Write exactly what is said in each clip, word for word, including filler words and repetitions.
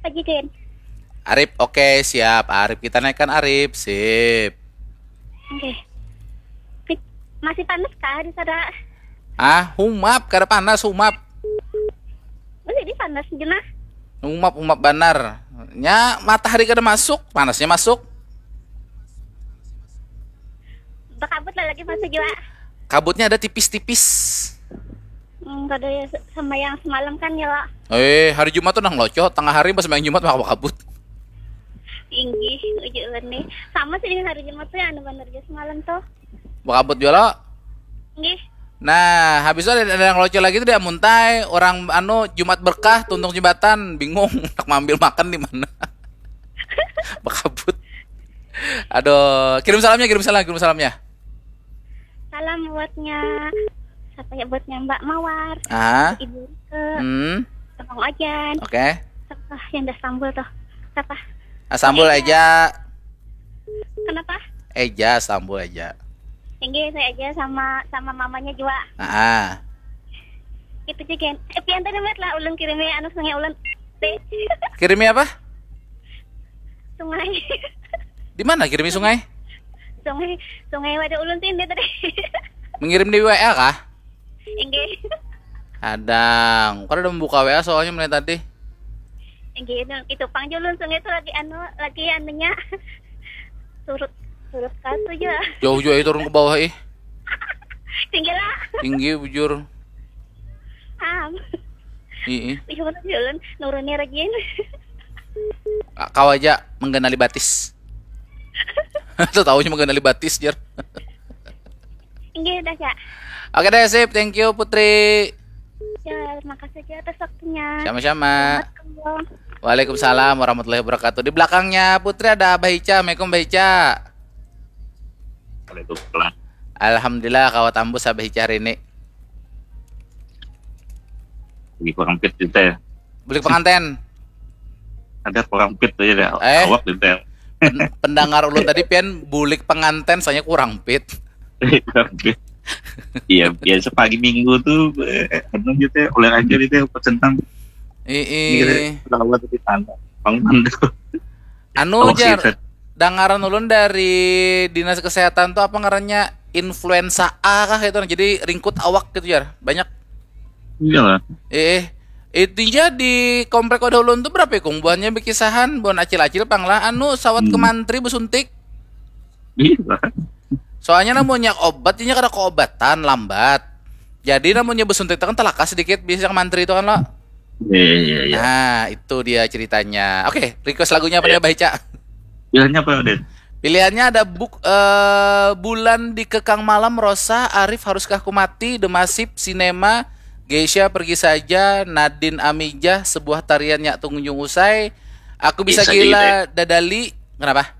Pajikin. Arif, oke, siap. Arif, kita naikkan Arif. Sip. Oke. Pit- Masih panas kah di sana? Ah, humap, kada panas, humap. Masih di panas jenah. Humap, humap banar. Nya matahari kada masuk, panasnya masuk. Bakabut lah lagi masuk juga. Kabutnya ada tipis-tipis. Hmm, kada ya sama yang semalam kan ya, Wak. Eh, hari Jumat tuh nang loco, tengah hari pas main Jumat maka bakabut. Tinggi uji ulun nih. Sama sih dengan hari Jumat tuh yang anu bener aja semalam tuh. Bakabut juga lo. Nggih. Nah, habis itu ada, ada yang loco lagi tuh dia muntai, orang anu Jumat berkah tuntung jembatan, bingung nak mambil makan di mana. Bakabut. Aduh, kirim salamnya, kirim salam, kirim salamnya. Salam buatnya siapa ya, buatnya Mbak Mawar, Ah, Ibu ke hmm, Abang Ojan, oke. Siapa yang udah sambul tuh? Siapa? Ah, sambul aja. Kenapa? Eja, sambul aja. Tinggi saya aja sama sama mamanya juga. Ah, Itu juga. Eh, pian tadi met lah ulun kirimi anu sungai ulun. Deh. Kirimi apa? Sungai. Di mana kirimi sungai? Sungai sungai wadah ulun sih dia tadi. Mengirim di W A kah? Inggih. Kadang, kada ada membuka W A soalnya mulai tadi. Inggih itu, itu pang ulun sungai itu lagi anu lagi anunya. Surut surut katu aja. Jauh juga turun ke bawah ih. Tinggi lah. Tinggi bujur. Am. Ih, Ih, ulun nurunnya rajin. Kau aja menggenali batis. Tuh tahunya menggenali batis, jar. Inggih dah ya. Oke deh, sip. Thank you, Putri. Ya, terima kasih aja atas waktunya. Sama-sama. Selamat malam. Waalaikumsalam warahmatullahi wabarakatuh. Di belakangnya Putri ada Abah Ica. Assalamualaikum, Abah Ica. Waalaikumsalam. Alhamdulillah, kawa tambus Abah Ica hari ini. Lagi kurang fit kita ya. Bulik penganten. Ada kurang fit aja deh. Eh. Awak gitu ya. Pen- pendengar ulun tadi pian bulik penganten, soalnya kurang fit. Kurang fit. Iya, biasa pagi minggu tuh eh, anu gitu ya, olahraga gitu ya, upat centang. Ih, Rawat di tanah. Pang mandu. Anu Awak jar, sehat. Dangaran ulun dari dinas kesehatan tuh apa ngarannya, influenza A kah itu, jadi ringkut awak gitu jar, banyak. Iya lah. Eh, intinya di komplek wadah ulun tuh berapa ikung buahnya berkisahan, buhan acil-acil pang lah, anu sawat ke Hmm. mantri besuntik. Iya. Soalnya namunnya obat, inya kada keobatan lambat. Jadi namunnya besuntik itu kan telaka sedikit bisa ke mantri itu kan lo. Iya, iya, iya. Nah, itu dia ceritanya. Oke, request lagunya apa nih, Abah Ica? Pilihannya apa, Den? Pilihannya ada buk eh, Bulan Dikekang Malam, Rosa, Arif, Haruskah Ku Mati, The Masif, Sinema, Geisha, Pergi Saja, Nadine Amijah, Sebuah Tarian Nyak Tunjung Usai, Aku Bisa Geisha Gila, aja Dadali. Kenapa?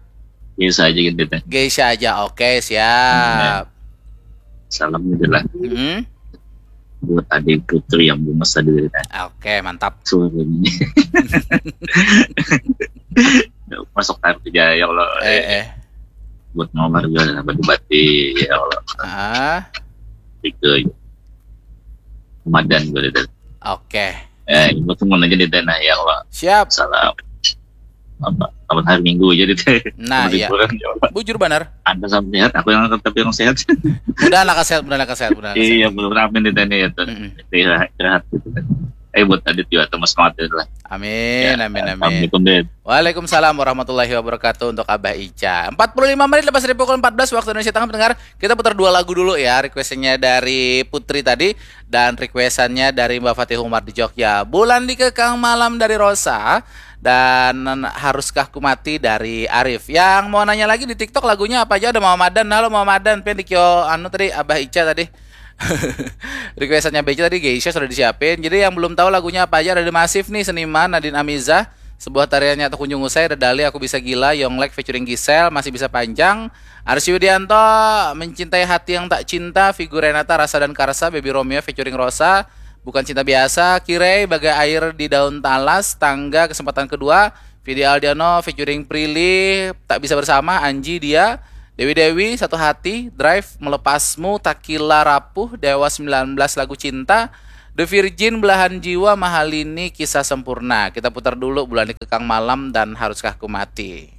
Biasa aja gitu, Den. Geisha aja. Oke, siap. Salam gitu lah Mm-mm. buat adik putri yang bungas tadi dari tadi. Oke, mantap. Suaranya. Masuk air kerja ya Allah. Eh, eh. Buat nomor juga apa dibati ya Allah. Ah, Tiga ya. Ramadan gue dari. oke. Eh, buat temen aja di tanah ya Allah. Siap. Salam. Apa? Kapan hari Minggu aja di teh. Nah, iya. Liburan ya Allah. Bujur banar. Anda sama sehat, aku yang tetap yang sehat. Mudah lah sehat, mudah lah sehat, mudah lah sehat. Iya, belum ramen di teh ya tuh. Mm-mm. Istirahat, istirahat gitu. Eh, buat Adit juga atau Mas Mat lah. Amin, Ya, amin, amin. Assalamualaikum, Den. Waalaikumsalam warahmatullahi wabarakatuh untuk Abah Ica. Empat puluh lima menit lepas dari pukul empat belas waktu Indonesia Tengah, pendengar. Kita putar dua lagu dulu ya, requestnya dari Putri tadi dan requestannya dari Mbak Fatih Umar di Jogja. Bulan Dikekang Malam dari Rosa dan Haruskah Ku Mati dari Arif. Yang mau nanya lagi di TikTok lagunya apa aja, ada Mama Madan. Halo Mama Madan, pian di kio anu tadi Abah Ica tadi. Requestannya Abah Ica tadi Geisha sudah disiapin. Jadi yang belum tahu lagunya apa aja, ada The Masif nih, Seniman, Nadine Amizah, Sebuah Tariannya Atau Kunjung Usai, Dadali, Aku Bisa Gila, Yonglek featuring Gisel, Masih Bisa Panjang, Arsy Widianto, Mencintai Hati Yang Tak Cinta, Figu Renata, Rasa dan Karsa, Baby Romeo featuring Rosa, Bukan Cinta Biasa, Kirei, Bagai Air di Daun Talas, Tangga, Kesempatan Kedua, Vidi Aldiano featuring Prilly, Tak Bisa Bersama, Anji, Dia, Dewi Dewi, Satu Hati, Drive, Melepasmu, Takila Rapuh, Dewa sembilan belas, Lagu Cinta, The Virgin belahan jiwa mahalini kisah sempurna. Kita putar dulu bulan dikekang malam dan haruskah ku mati.